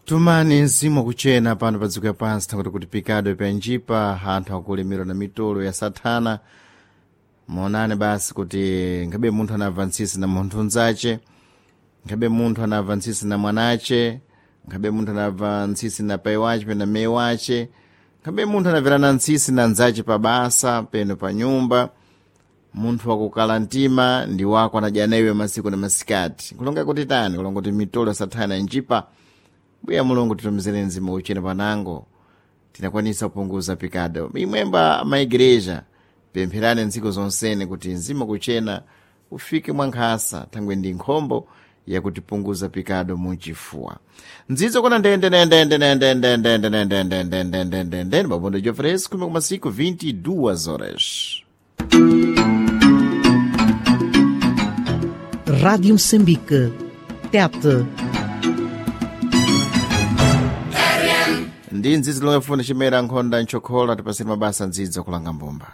Tumani mzimu wakuchena pano pa dziko lapansi, thakuti kuti pikado pyanjipa anthu akulemerwa na mitolo ya sathana. Muonane basi kuti ngabe munthu anabva ntsisi na munthu mnzace, ngabe munthu anabva ntsisi na mwanace, ngabe munthu anabva ntsisi na pai wace pena meyi wace, ngabe munthu anabverana ntsisi na nzace pa basa peno pa nyumba. Munthu wakukala mtima ndi wako anadya naiwe masiku na masikati. Kulonga kuti tani? Kulonga kuti mitolo ya sathana njipa. Mbuya Mulungu, titumizire mzimu uchene panango tinakwanisa kupunguza pikado. Imwemba maigereja, pempherani ntsiku zonsene kuti mzimu kuchena ufike mwankhasa, thangwe ndi nkhombo yakutipunguza pikado muchifuwa. Ndzidzo kuna ndende ndende ndende ndende ndende ndende ndende ndende ndende mabondo jofresco kuma kumasiku 22 horas. Rádio Moçambique. Tete. Ndi ndzidzo lomwe funa chimera nkhonda nchokhola, tipasire mabasa ndzidzo kulanga mbumba.